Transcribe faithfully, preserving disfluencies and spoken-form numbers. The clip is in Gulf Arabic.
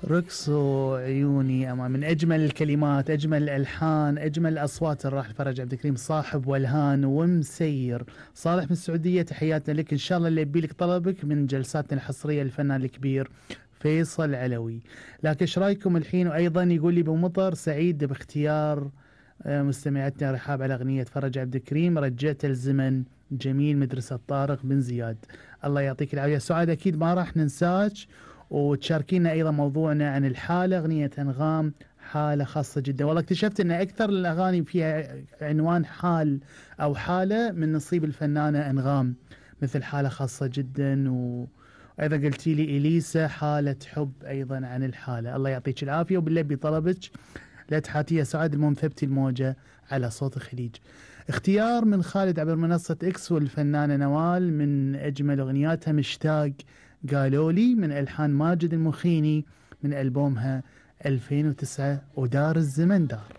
رقصوا عيوني أما من أجمل الكلمات، أجمل الألحان، أجمل الأصوات الراحل فرج عبد الكريم صاحب والهان ومسير. صالح من السعودية تحياتنا لك، إن شاء الله اللي يبي لك طلبك من جلساتنا الحصرية للفنان الكبير فيصل علوي. لكن ايش رايكم الحين؟ وأيضا يقول لي بمطر سعيد باختيار مستمعتنا رحاب على أغنية فرج عبد الكريم رجعت الزمن جميل مدرسة طارق بن زياد. الله يعطيك العافية سعاد، أكيد ما راح ننساك وتشاركينا أيضا موضوعنا عن الحالة. أغنية أنغام حالة خاصة جدا، والله اكتشفت أن أكثر الأغاني فيها عنوان حال أو حالة من نصيب الفنانة أنغام، مثل حالة خاصة جدا، وأيضا قلتي لي إليسا حالة حب أيضا عن الحالة. الله يعطيك العافية، وبالله بطلبك لا تحاتي سعاد، المهم ثبتي الموجة على صوت الخليج. اختيار من خالد عبر منصة اكس والفنانة نوال من أجمل أغنياتها مشتاق قالوا لي من ألحان ماجد المخيني من ألبومها ألفين وتسعة ودار الزمن دار.